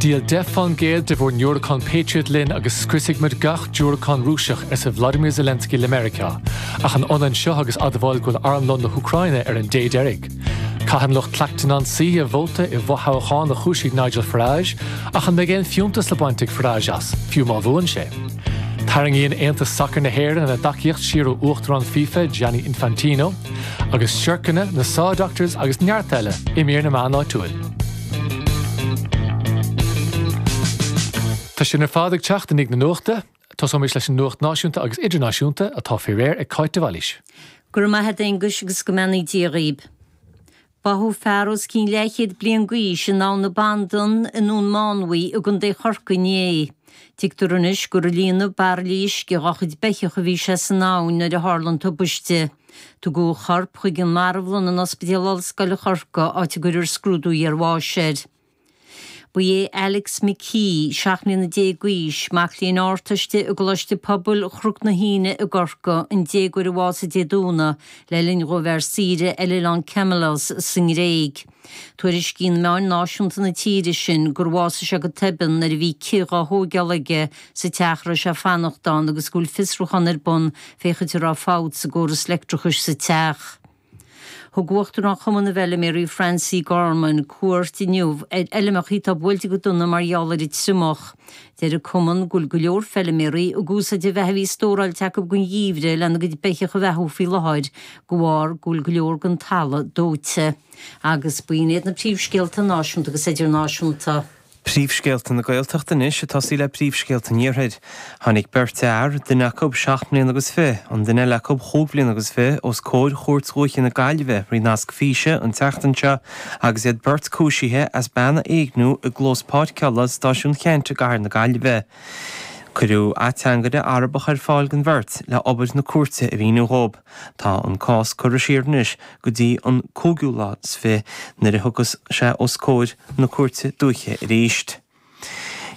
Díol 10 fán gcéad de bhur ndiúracáin Patriot linn agus scriosfaidh muid gach diúracán Rúiseach, arsa Vladimir Zelensky le Meiriceá. Ach an ionann seo agus admháil go bhfuil armlón na hÚcráine ar an dé deiridh? Caitheann lucht Clacton-on-Sea a vóta i bhfothoghchán a chúisigh Nigel Farage, ach an mbeidh aon fiúntas le baint ag Farage as, fiú má bhuann sé? Tarraingíonn Aontas Sacair na hÉireann a dtacaíocht siar ó Uachtarán FIFA, Gianni Infantino. Agus siorcanna, na Saw Doctors agus neart eile i mír na meán áitiúil. Tá sin ar fad ag teacht i ndiaidh na nuachta. Tosóimid leis an nuacht náisiúnta agus idirnáisiúnta atá faoi réir ag Cáit de Bhailís. Go raibh maith a't a Aonghuis agus go mbeannaí Dia dhaoib. Báthadh fear os cionn leathchéad bliain d'aois in Abhainn na Bandan i nDún Mánmhaí i gContae Chorcaí inné. Tuigtear anois gur ag líonadh bairillí uisce dhá chuid beithíoch a bhí sé san abhainn nuair a tharla an tubaiste. Tugadh a chorp chuig an marbhlann in Ospidéal Ollscoile Chorcaí áit a gcuirfear scrúdú iarbháis air. Ba é Alex McKee, 17 mbliana d'aois, mac léinn Ardteiste i gColáiste Pobail Chnoc na hAoine i gCorcaigh, an déagóir a bhásaigh Dé Domhnaigh le linn dhó a bheith ar saoire ar oileán Kimolos sa nGréig. Tuairiscíonn meáin náisiúnta na tíre sin gur bhásaigh sé go toibeann nuair a bhí cith dhá thóigeáil aige sa teach a raibh sé ag fanacht ann agus go bhfuil fiosrúchán ar bun féachaint an raibh fabht sa gcóras leictreachais sa teach. Thug Uachtarán Chumann na bhFeiliméaraí Francie Gorman cuairt inniu ar fheilmeacha atá buailte go dona mar gheall ar an triomach. Deir an cumann go bhfuil go leor feiliméaraí ag úsáid an bheatha a bhí stóráilte acu don gheimhreadh lena gcuid beithíoch a bheathú faoi láthair de bharr go bhfuil go leor den talamh dóite. Agus b'in iad na príomhscéalta náisiúnta agus idirnáisiúnta. Príomhscéalta na Gaeltachta anois ag tosaí le príomhscéalta an Iarthair. Tháinig beirt fhear, duine acu seacht mbliana agus fiche, an duine eile acu chúig bhliana agus fiche, os comhair Chúirt Dhúiche na Gaillimhe thrí nasc físe an tseachtain seo agus iad beirt cúisithe as bean a éigniú i gclós páirceála Stáisiún Cheannt i gcathair na Gaillimhe. Cuireadh ateangaire Arabach ar fáil don bheirt le obair na cúirte a mhíniú dhóibh. Tá an cás curtha siar anois go dtí an cúigiú lá is fiche nuair a thiocfas sé os comhair na Cúirte Dúiche arís.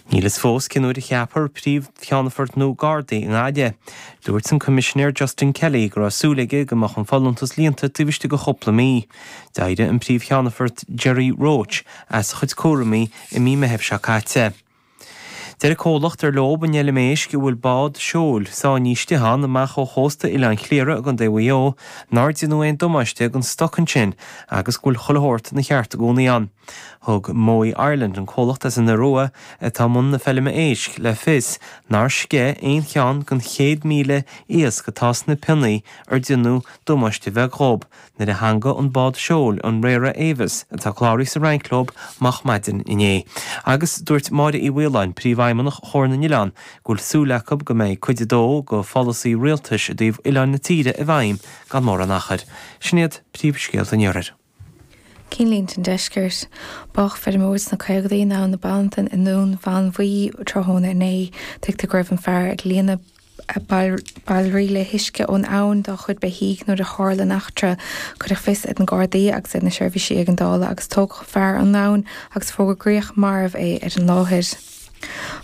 Níl fhios fós cén uair a cheapfar Príomh-Cheannfort nua Gardaí i nGaillimh. Dúirt an Coimisinéir Justin Kelly go raibh súil aige go mbeadh an folúntas líonta taobh istigh de chúpla mí. D'éirigh an Príomh-Cheannfort Gerry Roche as a chuid cúraimí i mí Meithimh seo caite. Deir an comhlacht ar leo an fheilm éisc a bhfuil bád seoil sáinnithe istigh ann amach ó chósta Oileán Chliara i gContae Mhaigh Eo nár déanadh aon damáiste don stoc ansin agus go bhfuil chuile shórt ina cheart i gcónaí ann. Thug Mowi Ireland, an comhlacht as an Iorua atá i mbun na feilme éisc, le fios nár sceith aon cheann den 100,000 iasc atá sna pionnaí ar déanadh damáiste bheag dhób. nuair a theangaigh an bád seoil, an Rara Avis, atá cláraithe sa Fhrainc leo moch maidin inné. Agus dúirt Máire Uí Mhaoláin, Príomhfheidhmeannach Chomhar na nOileán, go bhfuil súil acu go mbeidh cuid a dó de pholasaí rialtais i dtaobh oileáin na tíre i bhfeidhm gan mórán achair. Sin iad príomhscéalta an Iarthair. Cinnlínte an Deiscirt. Bádh feirmeoir sna caogaidí in Abhainn na Bandan i nDún Mhánmhaí tráthnóna inné. Tuigtear go raibh an fear ag líonadh bairillí le huisce ón abhainn dá chuid beithígh nuair a tharla an eachtra. Cuireadh fios ar na Gardaí agus ar na seirbhísí éigeandála agus tógadh an fear ón abhainn agus fógraíodh marbh é ar an láthair.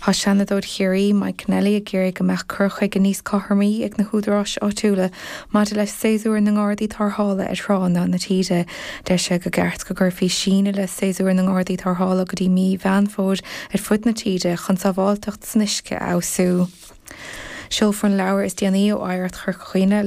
Tá Seanadóir Chiarraí, Mike Kennelly ag iarraidh go mbeadh cur chuige níos cothromaí ag na húdaráis áitiúla maidir le séasúr na nGardaí Tarrthála ar thránna na tíre. Deir sé gur ceart go gcuirfí síneadh le séasúr na nGardaí Tarrthála go dtí mí Mheán Fómhair ar fud na tíre chun sábháilteacht san uisce a fheabhsú. Seolfar an leabhar is déanaí ó Oidhreacht Chorca Dhuibhne.